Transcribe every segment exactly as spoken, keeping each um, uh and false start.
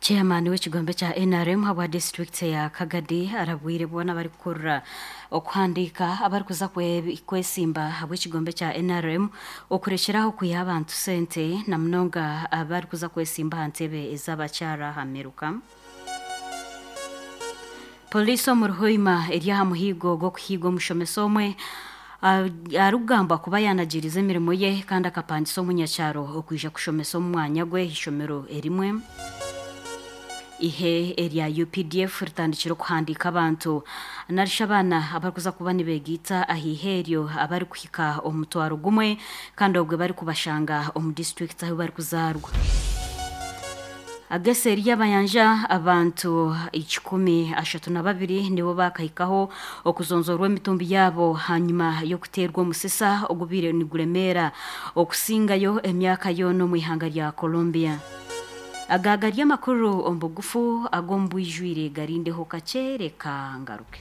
Chairman w'ekigombe kya N R M habwa district ya Kagadi arabwire boona barikukurura okuhandiika abarikuza kwesimba habw'ekigombe kya N R M okurekyeraho kwiha abantu sente, na munonga abarikuza kwesimba aha ntebe ez'abakyara aha miruka. Poliisi omu Ruhoima eri aha muhiigo gw'okuhiiga omushomesa omwe arikugambwa kuba yanagiriza emirimo ye kandi akapangisa omunyakyaro okwija kushomesa omu mwanya gwe ishomero erimwe. Ihe erya U P D F ritandikire okuhandiika abantu narisha abaana abarikuza kuba nibegiita aha ihe eryo abarikuhika omutwaro gumwe, kandi obwe barikubashanga omu disitulikiti ahu barikuzaarwa. Ageseeri y'abayanja, abantu ikikumi ashatu na babiri nibo bakahikaho okuzonzorwa emitumbi yaabo hanyuma y'okuteerwa omusisa ogubiire niguremeera okusingayo emyaka yoona omu ihanga rya Colombia. Aga gari amakuru omu bugufu, ag'omu bwijwire garindeho kakyereka ngaruke.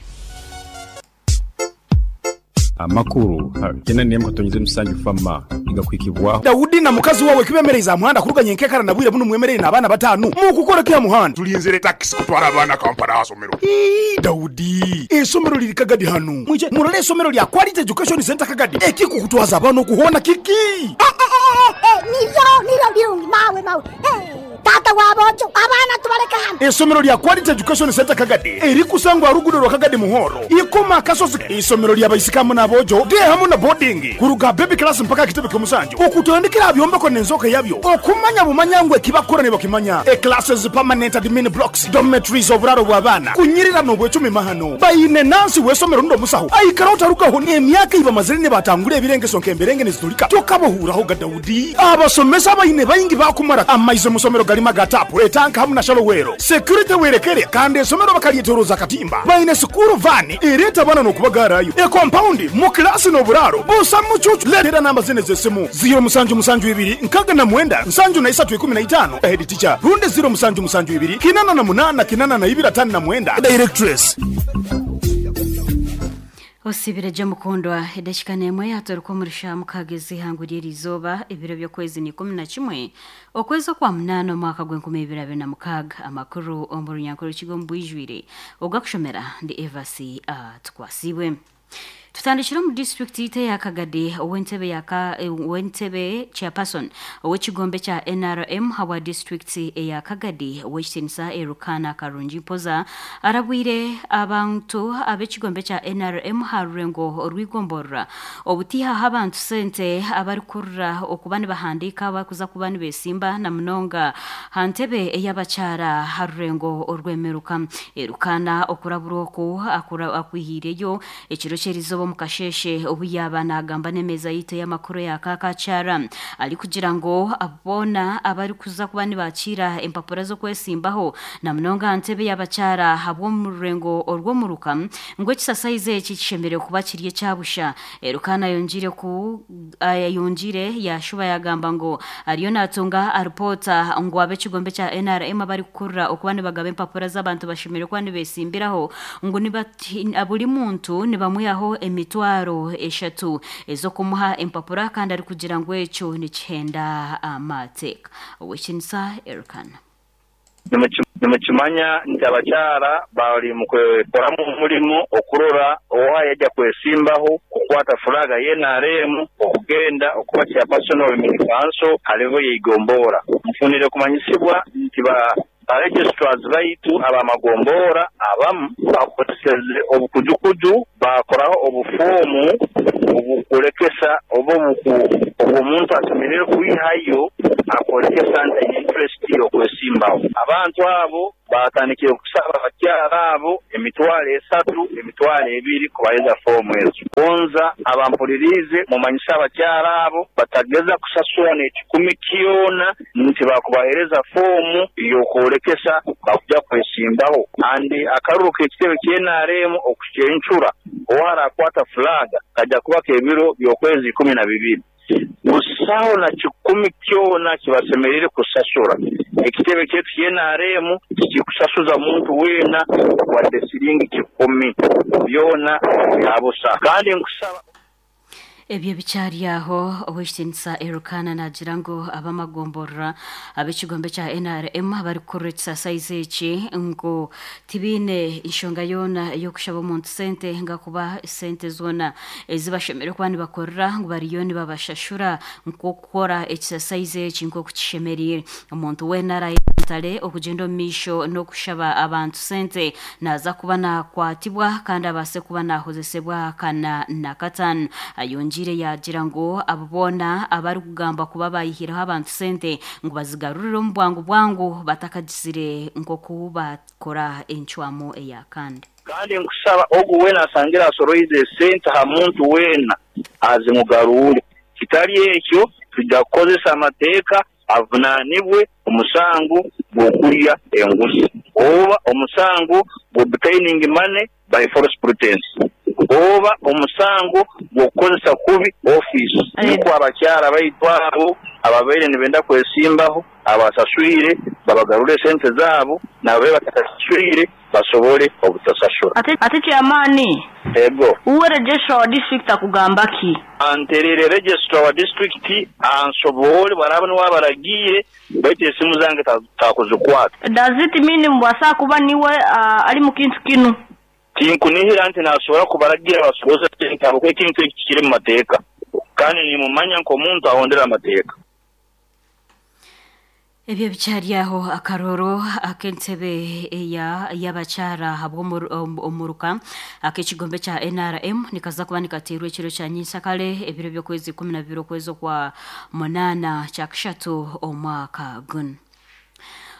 Amakuru kena nemu katonyize musanju fama igakwikibwaho. Dawudi na mukazi wawe kibemereza muhanda kuruganya enkekara na bwire buno mwemerere n'abaana batanu mukukora kya muhanda. Tulinzire takisi kutwara abaana Kampala hasomero. Ii, Dawudi, esomero liri Kagadi hanu, mwije murole esomero lya Quality Education Center Kagadi. Ekikukutwaza abaana okuhona kiki? Nibyo nibyo birungi, mawe mawe. Eh, tata wabojo, abaana tubaleke hano. Esomero lya Quality Education Center Kagadi erikusangwa rugudo rwa Kagadi Muhoro ikoma akasozi, isomero lya baisikamu n'abojo de hamu na boarding kuruga baby class mpaka kitebe ky'omusanju, okutandikira byombeko n'enzoka yabyo okumanya bumanya ngu ekibakora nibakimanya. E classes, permanent admin blocks, dormitories, oburaro bw'abaana kunyirira n'obwecumi mahano. Baine nansi w'esomero ndo musaho aikara otarugaho emyaka ibamazire nibatangura ebirengeso nk'emberenge nizitulika tokabahuuraho ga Dawudi. Abasomesa baine baingi bakumara amaizi musomero galima ga tapu, etanka hamu na shallow well. Security werekere, kandi esomero bakalyetoroza katimba. Baine school van ereeta abaana n'okubagarayo. E compound mu kilasi n'oburaro busa mucucu. Leetera namba zine z'esimu: ziro musanju musanju ibiri nkaga na mwenda nsanju na isatu ikumi na itano, head teacher, rundi ziro musanju musanju ibiri kinana na munana kinana na ibiri atano na mwenda, directress. Osibire je mukundwa, edakika n'emwe yatoruka omurisha mukagezi ihangu ry'erizooba, ebiro by'okwezi ni ikumi na kimwe, okwezi okwa munaana, omwaka gw'enkumi ibiri abiri na mukaaga. Amakuru omu runyankore rukiga omu bwijwire, ogakushomera ndi Evasi Tukwasibwe. Tutandikire omu disitulikiti yitu eya Kagadi. Ow'entebe yaka ow'entebe chairperson ow'ekigombe kya N R M habwa disitulikiti eya Kagadi, ow'ekitinisa Erukana Karungi Mpoza, arabwire abantu ab'ekigombe kya N R M ha rurengo orwigomborora obutihaho abantu sente abarikurura okuba nibahandiika abakuza kuba nibesimba, na munonga ha ntebe ey'abakyara ha rurengo orw'emiruka. Erukana okurabura oku akura- akwihiireyo ekiro ky'erizooba omu kasheshe obu yaba nagamba n'emeeza yitu y'amakuru ya Kakakyara, arikugira ngu boona abarikuza kuba nibakiira empapura z'okwesimbaho, na munonga aha ntebe y'abakyara habw'omu rurengo orw'omuruka, ngu ekisasaizi eki kishemereire kuba kiri ekyabusha. Erukana yongire ku yongire yashuba yagamba ngu ariyo natunga aripoota ngu ab'ekigombe kya N R M abarikukurura okuba nibagaba empapura z'abantu bashemereire kuba nibesimbiraho, ngu nibati- buri muntu nibamwihaho emitwaro eshatu ez'okumuha empapura, kandi arikugira ngu ekyo nikihenda amateeka. Owekinisa Erukana. Nimukimanya nti abakyara bali mukwekoramu omulimu okurora oha yajja kwesimbaho kukwata fulaga ya N R M okugenda okuba chairperson of women council halevel yeigombora. Nfunire kumanyisibwa nti ba ba registrars baitu abamagombora abamu bakozeseze obukujukuju, bakoraho obufomu obukulekesa oba obw'omuntu asemerere kwihayo akolekesa nti aine interest y'okwesimbaho. Abantu abo batandikire kusaba abakyara abo emitwaro esatu, emitwaro ebiri kubahereza fomu ezo. Gonza abampuliriize mumanyise abakyara abo batageza kusasura n'ekikumi kyona nti bakubahereza fomu y'okwolekesa bakuja kwesimbaho. Andi akaruru k'ekitebe kya N R M okucencura owarakwata fulaga kajja kuba k'ebiro by'okwezi ikumi na bibiri. Busaho na kikumi kyona kibasemerere kusasura. Ekitebe kyaitu kya N R M tikikusasuza muntu weena wadde siringi kikumi, byona byabusa. Kandi nkusaba. Ebyo bikyari aho ow'ekitinisa Erukana nagira ngu abamagomborora ab'ekigombe kya N R M abarikukurira ekisasaizi eki ngu tibiine enshonga yoona ey'okushaba omuntu sente nga kuba sente zoona ezibashemereire kuba nibakorera ngu bariyo nibabashashura nk'okukora ekisasaizi eki nk'oku kishemereire. Omuntu weena arayetantare okugyenda omu maisho n'okushaba abantu sente naza kuba nakwatibwa kandi abaase kuba nahozesebwa kana na kataano. Ayongiire yagira ngu abo boona abarikugamba kuba bayihireho abantu sente ngu bazigarurire omu bwangu bwangu batakagizire nk'oku bakora encwamu eya kandi. Kandi nkusaba ogu weena asangira asoroize sente ha muntu weena azimugarure, kitari ekyo tujja kukozesa amateeka avunaanibwe omusango gw'okurya enguzi oba omusango gw'obtaining money by false pretense oba omusango gw'okukozesa kubi office. Niko abakyara baitu abo ababaire nibenda kwesimbaho abasaswire babagarure sente zaabo nababe batasaswire basobole obutasasura. Ate, ate chairman, ego uwe registrar wa district akugamba ki? Anterere registrar wa district ansobole baraba niwabaragiire baitu esimu zange takuzikwata. Does it mean mbwasa kuba niwe uh, ali mu kintu kinu? Tinkunihira nti nasobora kubaragira basoboze sente abo ekintu eki kiri mu mateeka kandi nimumanya nk'omuntu ahondera amateeka. Ebyo bikyari aho akaroro ak'entebe eya y'abakyara habw'omuruka ak'ekigombe kya N R M nikaza kuba nikateerwa ekiro kya nyinsakare ebiro by'okwezi ikumi na bibiri okwezi okwa munaana kya kashatu omwaka guno.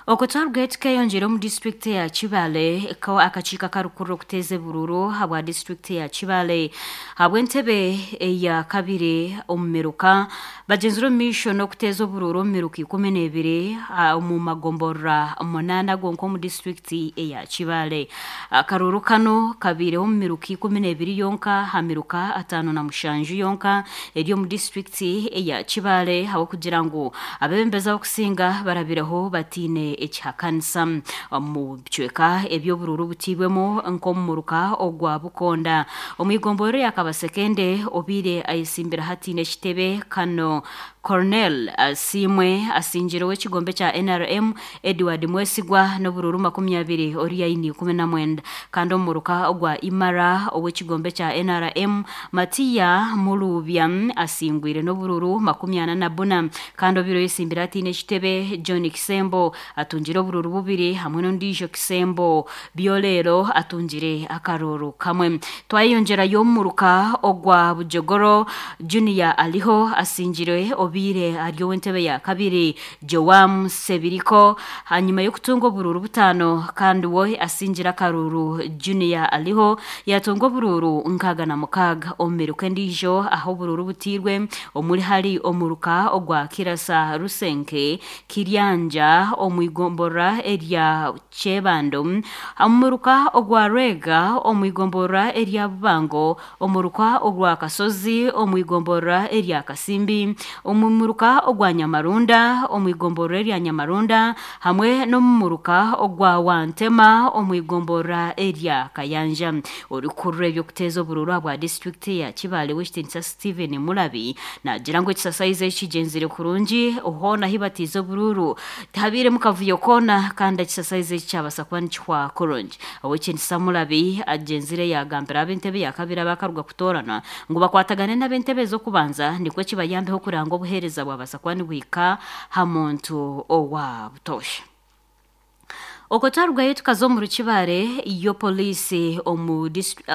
Okutwarwa tukeyongyera omu disitulikiti ya Kibale akakiiko akarikukurira okuteeza ebururu habwa disitulikiti ya Kibale habw'entebe eya kabiri omu miruka bagyenzire omu maisho n'okuteeza obururu omu miruka ikumi n'ebiri omu magomborora munaana gonka omu disitulikiti eya Kibale. Akaruru kano kabiireho omu miruka ikumi n'ebiri yonka ha miruka ataano na mushanju yonka eri omu disitulikiti eya Kibale habw'okugira ngu abebembezi abakusinga barabireho batiine ekihakanisa mu bicweka eby'obururu butiibwemu nk'omumuruka ogwa Bukonda. Omwigomborero ya Kabasekende obiire ayesimbira hatiine ekitebe kano Cornel Asimwe asingire w'ekigombe kya N R M Edward Mwesigwa n'obururu makumi abiri ori yaini ikumi na mwenda kandi omumuruka ogwa Imara ow'ekigombe kya N R M Matiya Mulubya asingwire n'obururu makumi ana na buna kandi obiire oyesimbira hatiine ekitebe John Kisembo atungire obururu bubiri hamwe n'ondiijo Kisembo Byolero atungire akaruru kamwe. Twayeyongyerayo omumuruka ogwa Bujogoro Junior aliho asingire obiire ari ow'entebe ya kabiri Joam Sebiriko hanyuma y'okutunga obururu butaano kandi we asingire akaruru Junior aliho yatunga obururu nkaaga na mukaaga. Omu miruka endiijo aho obururu butiirwe omuri hari omuruka ogwa Kirasa Rusenke Kiryanja omwigomborora erya Kyebando, omuruka ogwa Rwega omwigomborora erya Bubango, omuruka ogwa Kasozi omwigomborora erya Kasimbi, omumuruka ogwa Nyamarunda omwigomborora erya Nyamarunda hamwe n'omumuruka ogwa Wantema omwigomborora erya Kayanja. Orikurura eby'okuteeza obururu bwa disitulikiti ya Kibale w'ekitinisa Steven Mulabi nagira ngu ekisasaizi ekigyenzire kurungi hoona ahi batiize obururu tihabiiremu kavuyo koona kandi ekisasaizi eki kyabasa kuba nikihwa kurungi. Ow'ekitinisa Mulabi agyenzire yagambira ab'entebe ya kabiri abakaruga kutoorana ngu bakwatagane n'ab'entebe ez'okubanza nikwo kibayambeho kuranga obuheereza bwabasa kuba nibuhika ha muntu owa butoosha. Okutwarwayo tukaza omu Rukibare yo poliisi omu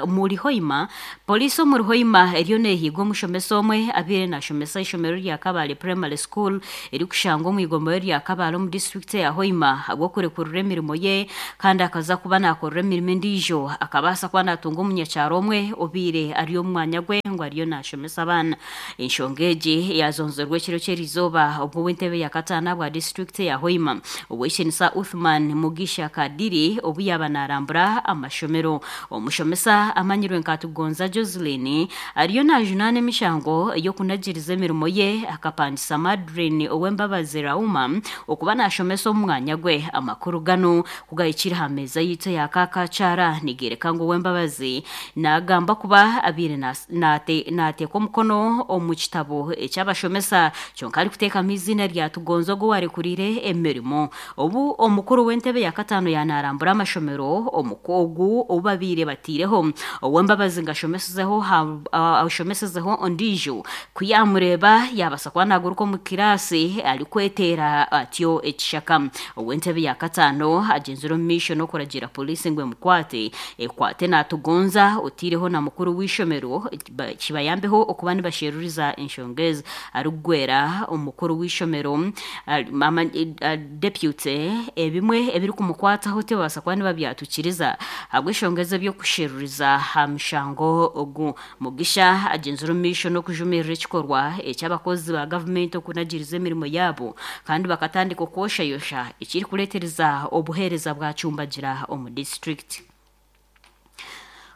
muri Hoima, poliisi omu Hoima eriyo neehiga omushomesa omwe abiire nashomesa ishomero rya Kabale Primary School erikushangwa omu igomero rya Kabale omu disitulikiti ya Hoima ahabw'okurekurira emirimo ye kandi akaza kuba nakorera emirimo endiijo akabaasa kuba natunga omunyakyaro omwe obiire ari omu mwanya gwe ngu ariyo nashomesa abaana. Enshonga egi yazonzerwa ekiro ky'erizooba obwo w'entebe ya kataano bwa disitulikiti ya Hoima ow'ekitinisa Uthman Mugisha Kadiri obu yaba narambura amashomero. Omushomesa amanyirwe nka Tugonza Joseline ariyo najunaana emishango ey'okunagiriza emirimo ye akapangisa Madrine ow'embabazi Rauma okuba nashomesa omu mwanya gwe. Amakuru gano kugahikire aha meeza yitu ya Kakakyara nigereka ngu ow'embabazi nagamba kuba abiire naateeka omukono omu kitabo ekyabashomesa kyonka arikuteekamu izina rya Tugonza ogu warekurire emirimo. Obu omukuru w'entebe ya kataano yanarambura amashomero ogu obu babiire batiireho Owembabazi nga ashomesezeho ondiijo kuyamureba yabasa kuba naguruka omu kirasi arikweteera atyo ekishaka. Ow'entebe ya kataano agenzire omu maisho n'okuragira polisi ngu emukwate ekwate Natugonza otiireho na mukuru w'ishomero kibayambeho okuba nibasheruriza enshonga ezi. Arikugwera omukuru w'ishomero deputy ebimwe ebirikumukwataho tibabasa kuba nibabyatukiriza ahabw'enshonga ezi eby'okusheruriza aha mushango ogu. Mugisha agenzire omu maisho n'okujumirira ekikorwa eky'abakozi ba gavumenti okunagiriza emirimo yaabo kandi bakatandika okwoshayosha ekirikureetereza obuheereza bwacumbagira omu disitulikiti.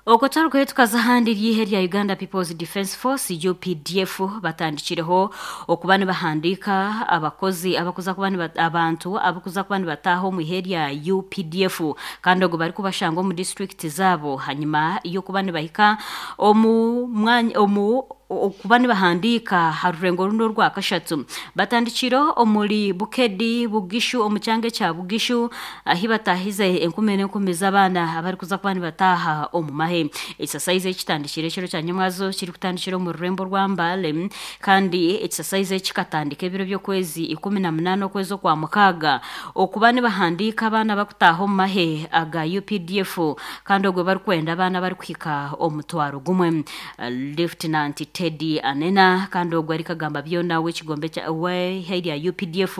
Okwo twarikuhe tukaza ahandi ryihe rya Uganda People's Defence Force U P D F batandikireho okuba nibahandiika abakozi abakuza kuba abantu abakuza kuba nibataaha omu ihe rya U P D F kandi ogwo barikubashanga omu disitulikiti zaabo hanyuma y'okuba nibahika omu mwanya omu okuba nibahandiika ha rurengo runo orwa kashatu. Batandikire omuri Bukedi Bugishu omu kyanga ekya Bugishu ahi batahize enkumi n'enkumi z'abaana abarikuza kuba nibataaha omu mahe. Ekisasaizi ekitandikire ekiro kya nyamwazo kirikutandikira omu rurembo rwa Mbale kandi ekisasaizi ekikatandika ebiro by'okwezi ikumi na munaana okwezi okwa mukaaga okuba nibahandiika abaana bakutaaha omu mahe aga U P D F kandi ogwo barikwenda abaana barikuhika omutwaro gumwe. Lieutenant Teddy Anena kandi ogwo arikagamba byona w'ekigombe w'eihe rya U P D F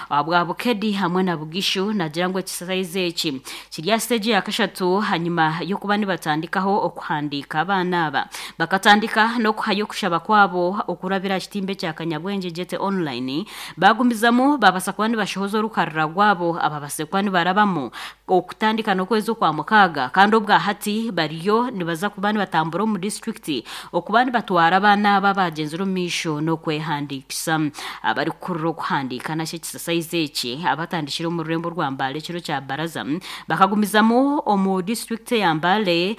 bwa Bukedi hamwe na Bugishu nagira ngu ekisasaizi eki kiri aha siteegi ya kashatu hanyuma y'okuba nibatandikaho okuhandiika abaana aba. Bakatandika n'okuhayo okushaba kwabo okurabira aha kitimba ekya Kanyabwengye Jete online bagumizamu babasa kuba nibashohoza orukarira rwabo ababase kuba nibarabamu okutandika n'okwezi okwa mukaaga kandi obwa hati bariyo nibaza kuba nibatambura omu disitulikiti okuba nibatwara abaana aba bagenzire omu maisho n'okwehandiikisa. Abarikukurira okuhandiika nakyo ekisasaizi eki abatandikire omu rurembo rwa Mbale ekiro kya Baraza bakagumizamu omu disitulikiti ya Mbale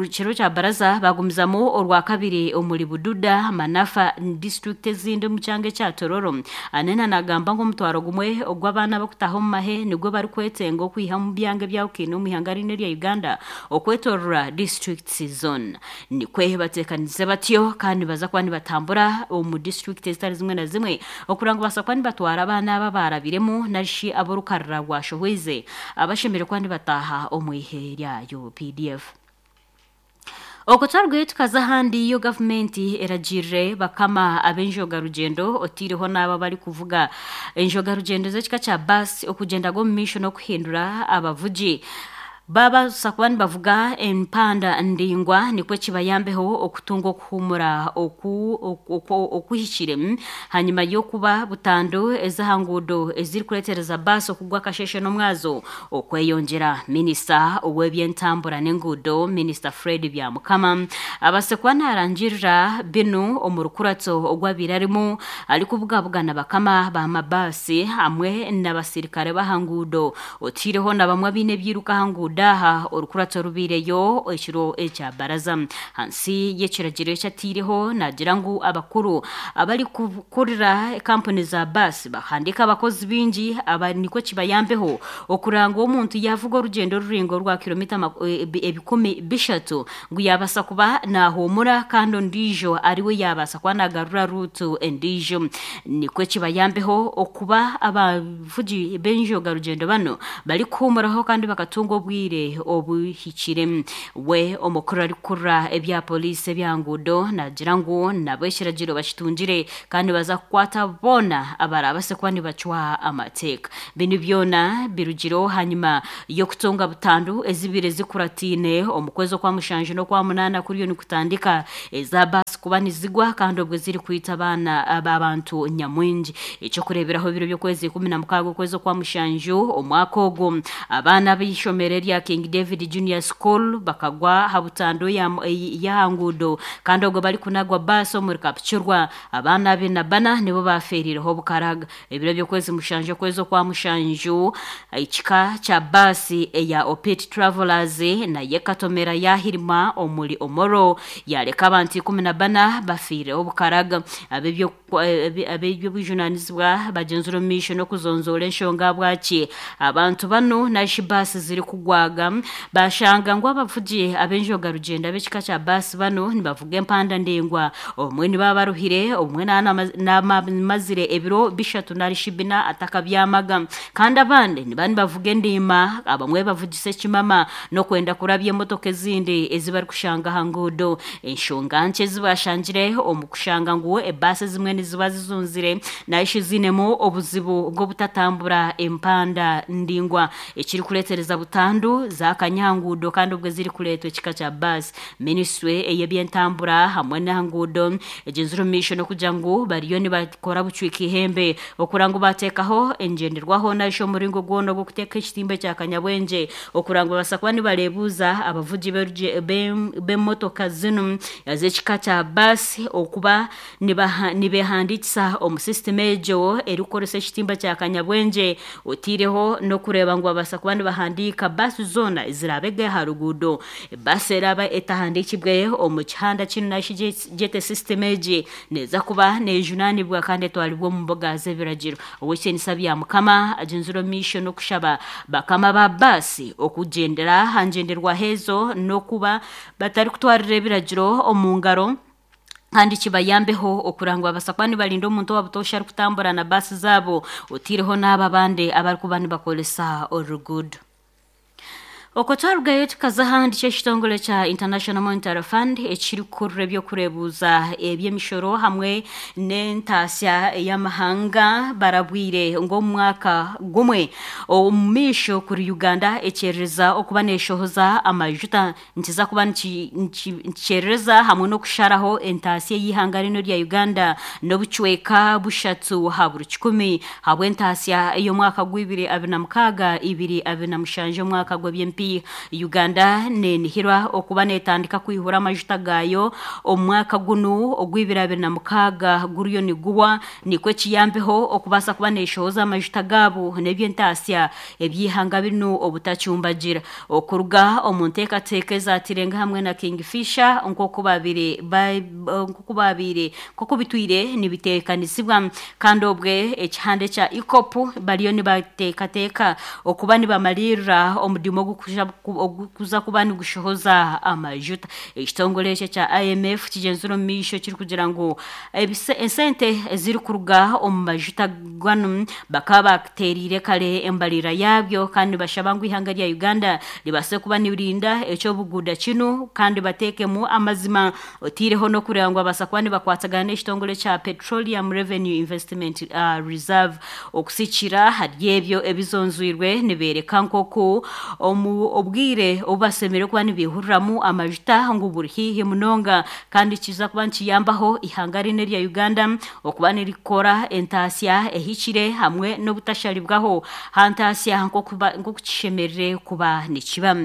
ekiro kya Baraza bagumizamu orwa kabiri omuri Bududa Manafa disitulikiti ezindi omu kyanga ekya Tororo. Anena nagamba ngu omutwaro gumwe ogw'abaana bakutaha omu mahe nigwo barikwetenga okwiha omu byanga ebyahukine omu ihanga rino erya Uganda okwetorora disitulikiti zone. Nikwe bateekanize batyo kandi baza kuba nibatambura omu disitulikiti ezitari zimwe na zimwe okugira ngu basa kuba nibatwara abaana aba barabiremu narishi ab'orukarira rwashohweize abashemereire kuba nibataaha omu ihe rya U P D F. Okwo twarugire tukaza ahandi yo gavumenti eragirire bakama ab'enjoga rugyendo otiireho n'abo abarikuvuga enjoga rugyendo z'ekika kya baasi okugyenda gw'omu maisho n'okuhindura abavugi babasa kuba nibavuga empanda ndingwa nikwo kibayambeho okutunga okuhumura okuhikire hanyuma y'okuba butandu ez'aha nguudo ezirikureetereza baasi okugwa akasheshe n'omwazo okweyongyera. Minisita ow'ebyentambura n'enguudo Minisita Fred Byamukama abase kuba narangirira binu omu rukuratso ogwabiire arimu arikubugabugana bakama b'amabaasi hamwe n'abasirikare b'aha nguudo otiireho na bamwe abaine ebyiruka aha nguudo aha orukuratso rubiireyo ekiro ekya Baraza. Hansi y'ekiragiro ekyatiireho nagira ngu abakuru abarikukurira kampuni za baasi bahandiika abakozi bingi aba nikwo kibayambeho okuranga omuntu yavuga orugyendo ruringo rwa kilomita ebikumi bishatu ngu yabasa kuba nahumura kandi ondiijo ariwe yabasa kuba nagarura ruutu endiijo. Nikwo kibayambeho okuba abavugi b'enjoga rugyendo bano barikuhumuraho kandi bakatunga obwire obuhikire. We omukuru arikukurira ebya polisi ebyanguudo nagira ngu nabo ekiragiro bakitungire kandi baza kukwata boona abarabase kuba nibacwa amateeka. Binu byona birugireho hanyuma y'okutunga butandu ezibire zikuratiine omu kwezi okwa mushanju n'okwa munaana kuriyo nikutandika eza baasi kuba nizigwa kandi obwo zirikwita abaana abantu nyamwingi. Ekyokureeberaho ebiro by'okwezi ikumi na mukaaga okwezi okwa mushanju omwaka ogwo abaana b'eishomero erya King David Junior School bakagwa ha butando ya ya ngudo kandi ogwo bari kunagwa basi omuri Kapchurwa. Abaana abiri na bana nibo baferireho bukaraga. Ebiro by'okwezi mushanju okwezi okwa mushanju, ekika kya basi eya Opit Travelers naye katomera yahirima omuri Omoro, yareka abantu ikumi na bana bafiireho bukaraga. Ab'ebyo ab'ebyobujunanizibwa bagenzura omu maisho n'okuzonzoora enshonga bwaki abantu bano nashi basi ziri kugwaga. Bashanga ngu abavugi ab'enjoga rugendo ab'ekika kya basi bano nibavuga empanda ndengwa, omwe nibaba baruhire, omwe namazire ebiro bishatu narishi bina atakabyamaga, kandi abandi niba nibavuga endima, abamwe bavugisa ekimama n'okwenda kurabya emotoka ezindi ezi barikushanga aha nguudo. Enshonga nkye ezibashangire omu kushanga ngu ebaasi ezimwe niziba zizunzire naishe zinemu obuzibu bw'obutatambura empanda ndingwa, ekirikureetereza butandu zakanyanguudo kandi obwe zirikureetwa ekika kya baasi. Minisitule ey'ebyentambura hamwe n'ahanguudo egenzire omu maisho n'okugira ngu bariyo nibakora bucwika ihembe okura ngu bateekaho engyenderwaho naishe omuringo gwona ogw'okuteeka ekitimba ekya kanyabwengye, okura ngu babasa kuba nibareebuuza abavugi b'emotoka zinu ez'ekika kya baasi okuba nibehandiikisa omu sisitemu egyo erikukoresa ekitimba kya kanyabwengye, otiireho n'okureeba ngu babasa kuba nibahandiika baasi zoona ezirabege aha ruguudo. Baasi eraba etahandiikibwe omu kihanda kinu nashi gyete sisitemu egi neeza kuba neejunaanibwa kandi etwaribwa omu mbuga z'ebiragiro. Owekitiinisa bya Mukama agenzire omu maisho n'okushaba bakama ba baasi okugyendera aha ngyenderwaho ezo n'okuba batarikutwarira ebiragiro omu ngaro, kandi kibayambeho okurangwa babasa kuba nibarinda omuntu owabutoosha arikutambura na baasi zaabo, otiireho n'abo abandi abarikuba nibakoresa oruguudo. Okwo twarugayo tukaza ahandi, ky'ekitongore kya International Monetary Fund ekirikukurura ebyokureebuuza eby'emishoro hamwe n'entaasya ey'amahanga barabwire ngu omu mwaka gumwe omu maisho kuri Uganda ekyerereza okuba neeshohoza amajuta nikiza kuba nikikyerereza hamwe n'okusharaho entaasya ey'eihanga rino rya Uganda n'obucweka bushatu ha buri kikumi habw'entaasya ey'omwaka gw'ibiri abiri na mukaaga ibiri abiri na mushanju omwaka gw'eby'empiiha. Uganda nenihirwa okuba netandika kwihura amajuta gayo omu mwaka gunu ogw'ibiri abiri na mukaaga guriyo niguhwa, nikwo ekiyambeho okubaasa kuba neshohoza amajuta gaabo n'eby'entaasya eby'eihanga binu obutacyumbagira. Okuruga omu nteekateeka ezatirenga hamwe na Kingfisher nk'oku babire nk'oku babiire nk'oku bitwire nibiteekanisibwa, kandi obwe ekihanda ekya EACOP bariyo nibateekateeka okuba nibamaliirira omudimu ogukuza kuba nigushohoza amajuta. Ekitongore ekyo ekya I M F kigyenzire omu maisho kirikugira ngu esente ezirikuruga omu majuta ganu bakaba bateeriire kare embarira yaabyo, kandi nibashaba ngu eihanga rya Uganda ribaase kuba nirinda ekyobuguuda kinu kandi bateekemu amazima, otiireho n'okureeba ngu babaasa kuba nibakwatagana n'ekitongore kya Petroleum Revenue Investment uh, Reserve. Okusikira hari ebyo ebizonzwirwe nibeereka nk'oku omu obwire obu basemereire kuba nibihuriramu amajuta ngu buri haihi munonga, kandi kiza kuba nikiyambaho ihanga rino erya Uganda okuba nirikora entaasya ehikire hamwe n'obutasharibwaho ha ntaasya nk'oku kishemerire kuba nikiba.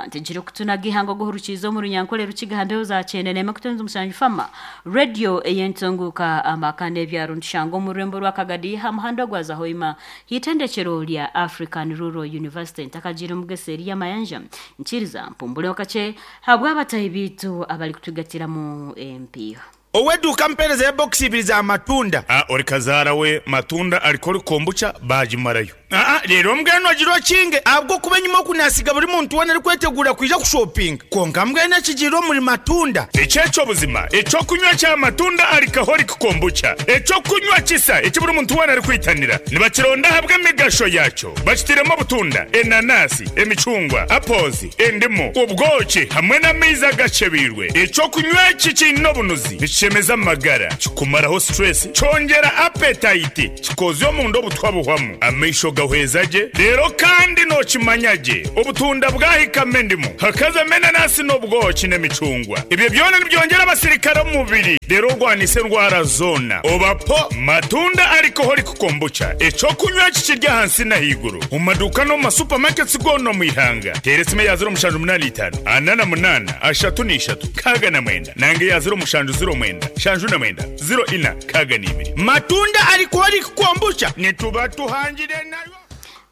Ntegire kutunaga ihanga oguhurukiiza omu runyankore rukiga mbeho za kyenda n'emwe kutonza omushanju Fama Radio ey'entunguuka amaka n'ebyaro nitushanga omu rurembo rwa Kagadi ha muhanda gwa Zahoima hitendekero rya African Rural University. Ntakagiire omugese eri y'amayanja nkiriza mpumbure kakye habw'abatahi biitu abarikutugatiramu empiiha. Oweduka mpereza ya box ibiri za matunda. Ah, ori kazaara we matunda ariko ori kombucha bagimarayo. Ah, rero mbwenu agira okinge abwo kuba enyuma okunasiga buri muntu wena arikwetegura kwija kushopinga, konka mbwenu ekigiire omuri matunda. Ekyekyo buzima ekyokunywa kya matunda alcoholic kombucha, ekyokunywa kisa eki buri muntu wena arikwitanira nibakironda ahabw'emigasho yakyo. Bakitiremu obutunda, enanasi, emicungwa, apples, endimu, obwoki hamwe n'amaizi agacebiirwe. Ekyokunywa eki kiine obunuzi nikishemeza amagara, kikumaraho stress, kyongera appetite, kikozya omunda obutwa buhwamu, amaisho gahweza gye. Rero kandi nokimanya gye obutunda bwahikamo endimu, hakazamo enanasi n'obwoki n'emicungwa. Ebyo byona nibyongera abasirikare omu mubiri Rero orwanise endwara zoona obapo Matunda Alcoholic Kombucha, ekyokunywa kikirya ahansi n'ahaiguru omu maduuka n'omu masupamaketi goona omu ihanga. Teera esimu eya ziro mushanju munaana itaano ana na munaana ashatu n'ishatu nkaaga na mwenda, nange eya ziro mushanju ziro mwenda shanju na mwenda ziro ina nkaaga n'ibiri. Matunda Alcoholic Kombucha nituba tuhangire nayo.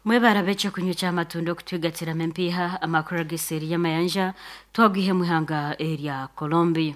Mwebara ekyokunywa ky'amatunda okutwigatiramu empiiha. Amakuru ag'eseeri y'amayanja twagwihe mu ihanga erya Colombia.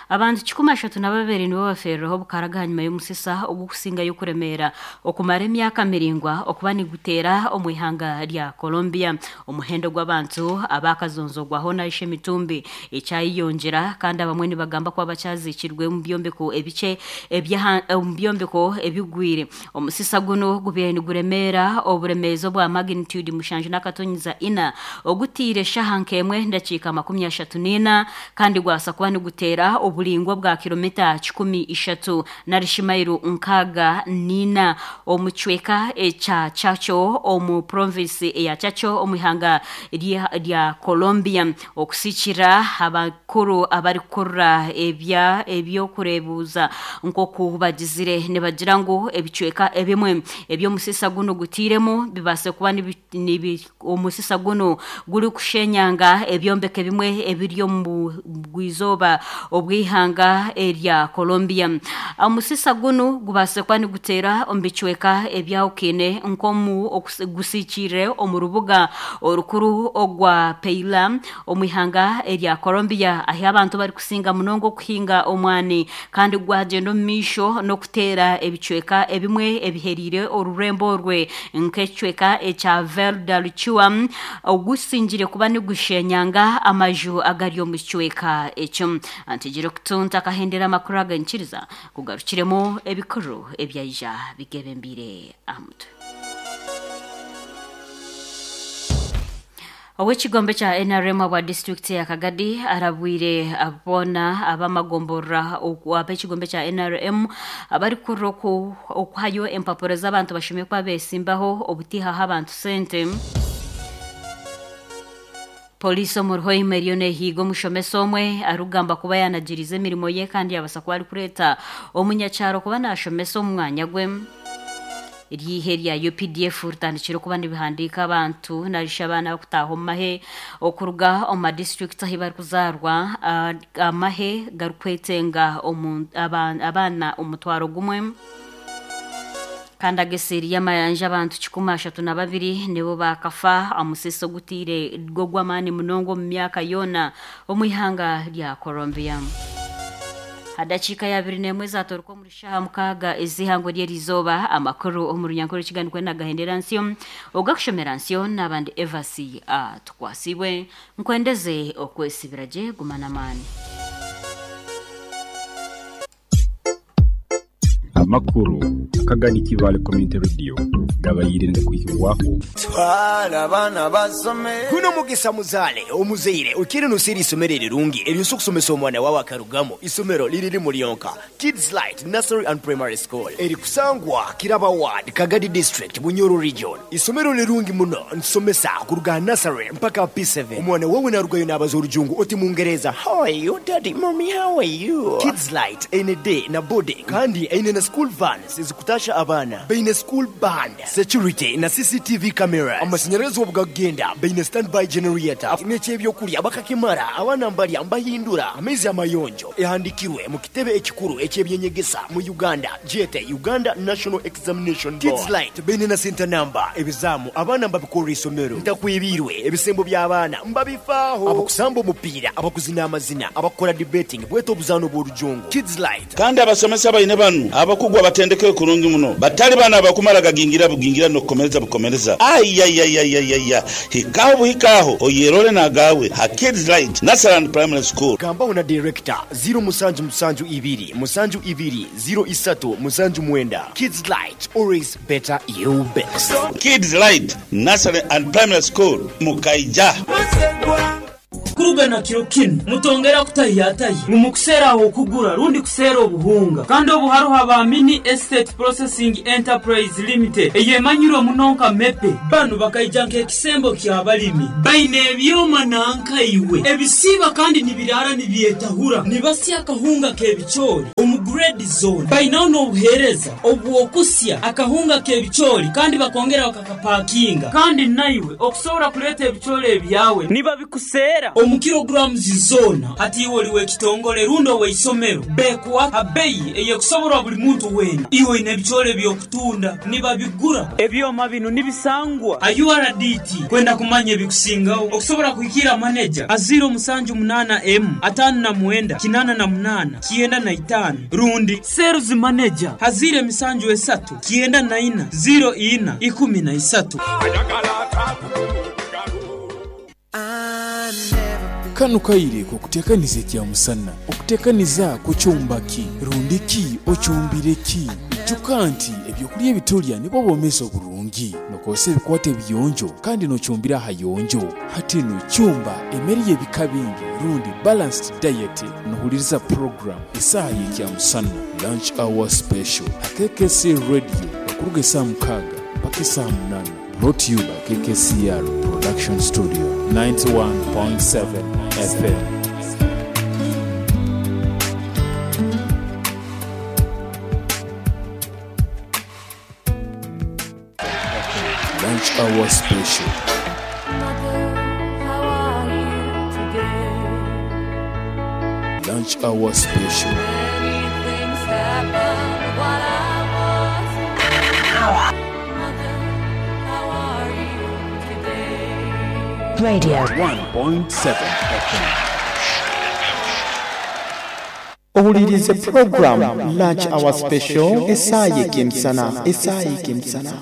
Abantu kikumi ashatu na babiri nibo bafereraho obukaraga hanyuma y'omusisa ogukusingayo okuremeera okumara emyaka miringwa okuba niguteera omu ihanga rya Colombia. Omuhendo gw'abantu abakazonzogwaho naisha emitumbi ekyayeyongyera, kandi abamwe nibagamba kuba bakyazikirwe omu byombeko ebikye ebyaha- omu byombeko ebigwire. Omusisa guno gubaire niguremeera oburemeezi obwa magnitude mushanju n'akatonyiza ina, ogutiire shaha nk'emwe ndakiika makumi ashatu n'ina, kandi gwasa kuba niguteera oburingwa bwa kilomita kikumi ishatu narishi mairu nkaaga n'ina omu kicweka ekya Chaco, omu province eya Chaco, omu ihanga rya rya Colombia. Okusikira abakuru abarikukurura ebya ebyokureebuuza nk'oku bagizire, nibagira ngu ebicweka ebimwe eby'omusisa guno gutiiremu bibaase kuba nibi, nibi, omusisa guno gurikushenyanga ebyombeko ebimwe ebiri omu bwizooba obw'ihanga erya Colombia. Omusisa guno gubaase kuba niguteera omu bicweka ebyahukine, nk'omu okusi- gusiikire omu rubuga orukuru ogwa Peila omu ihanga erya Colombia, ahi abantu barikusinga munonga okuhinga omwani, kandi gwagenda omu maisho n'okuteera ebicweka ebimwe ebiheriire orurembo orwe, nk'ekicweka ekya Valdaluchua, ogusingire kuba nigushenyanga amaju agari omu kicweka ekyo. Antigire okutunta akahendera amakuru agankiriza kugarukiremu ebikuru ebyaija bigebembire aha mutwe. Ow'ekigombe kya N R M obwa disitulikiti ya Kagadi arabwire aboona ab'amagomborora ab'ekigombe kya N R M abarikukurira oku- okuhayo empapuro z'abantu bashome kuba besimbaho obutihaho abantu sente. Poliisi omu Ruhoima eriyo neehiiga omushomesa omwe arikugamba kuba yanagirize emirimo ye, kandi yabasa kuba arikureeta omunyakyaro kuba nashomesa omu mwanya gwe. Eryihe rya U P D F ritandikire okuba nibihandiika abantu narisha abaana bakutaaha omu mahe okuruga omu madisiturikiti ahi barikuzaarwa, ah, amahe garikwetenga omu- aba- abaana omutwaro gumwe. Kandi ageseeri y'amayanja, abantu kikumi ashatu na babiri nibo bakafa omusisa ogutiire gw'ogw'amaani munonga omu myaka yoona omu ihanga rya Colombia. Hadakiika ya abiri n'emwe zatoruka omuri shaha mukaaga ez'ihangwe ry'erizooba. Amakuru omu runyankore kiganikwe nagahendera nsyo, ogakushomera nsyo n'abandi Evasi Tukwasibwe. Nkwendeze okwesibira gye, guma n'amaani. Amakuru Akagadi Kivale Community Radio gabayire ngakwihibwaho. Twala abaana basome. Guno mugisa muzaale omuzaire okire noseera isomero erirungi eryosa okusomesa omwana wawe akarugamu. Isomero liri limu lyonka, Kids Light Nursery and Primary School, erikusangwa Kiraba Ward, Kagadi District, Bunyoro Region. Isomero lirungi muno, ntusomesa kuruga nursery mpaka P seven. Omwana wawe narugayo nabaza orujungu oti mungereza, "How are you daddy, mommy, how are you?" Kids Light eine day na boarding, kandi eine na school vans ezikutasha abaana. Baine school band, security na C C T V cameras. Amashanyarazi obu gakugenda baine standby generator. N'eky'ebyokurya bakakimara, abaana mbarya mbahindura. Amaizi amayonjo. Ehandikirwe mu kitebe ekikuru eky'ebyenyegesa mu Uganda, gyete Uganda National Examination Board. Kids Light baine na center number. Ebizaamu abaana mbabikorera isomero. Ntakwibirwe ebisembo by'abaana mbabifaaho. Abakusamba omupiira, abakuzina amazina, abakukora debating, bwete obuzaano bw'orujungu. Kids Light. Kandi abasomesa baine banu abakugu abatendekere kurungi muno, batali bano abakumala gagingira bugingira n'okukomereza bukomereza. Ayayayayaya, hikaho buhikaho oyerole n'agawe ha Kids Light Nursery and Primary School. Gambaho na director ziro musanju musanju ibiri musanju ibiri ziro isatu musanju mwenda. Kids Light, always better you best. Kids Light Nursery and Primary School, mukaija. Kuruga na kiro kinu mutongera kutahiyatahi mumukuseera okugura rundi kuseera obuhunga kandi obuharuha ba Mini Estate Processing Enterprise Limited eyemanyirwe muno nka mepe. Banu bakaija nk'ekisembo ky'abalimi baine ebyoma nankaiwe ebisiba kandi nibirara nibyetahura nibasya akahunga k'ebicoori omu grade zone. Bainaho n'obuheereza obw'okusya akahunga k'ebicoori kandi bakongera bakakapakinga, kandi naiwe okusobola kuleeta ebicoori ebyawe nibabikuseera omu kilograms zona. Hati iwe oli w'ekitongole rundi ow'eisomero bekuwa abeyi eyekusoborwa buli muntu weena. Iwe oine ebicoori eby'okutunda nibabigura. Ebyoma bino nibisangwa a U R D T. Kwenda kumanya ebikusingaho okusobola kuhikira maneja a ziro musanju munana emu atano na mwenda kinana na munana kienda na itano rundi sales manager hazire emisanju esatu kienda na ina ziro ina ikumi na isatu. Kano kaire kukutekaniza ekya musana okutekaniza kukyumbaki rundiki okyumbireki ijuka nti ebyokulya ebitulya nibwo bwomezi oburungi nokozesa ebikwata ebiyonjo kandi nokyumbira ahayonjo. Hati no kyumba emmere y'ebika bingi rundi balanced diet. Nohuliriza program esaaha y'ekya musana lunch hour special ha K K C radio okuruga esaaha mukaaga mpaka esaaha munana. Brought to you by K K C R Production Studio ninety-one point seven F M. Lunch hour special. Mother, how are you today? Lunch hour special. Many things happened while I was away. Mother, how are you today? Radio one point seven F M. Owulirize program Lunch Hour Special esaaha y'ekemisana, esaaha y'ekemisana.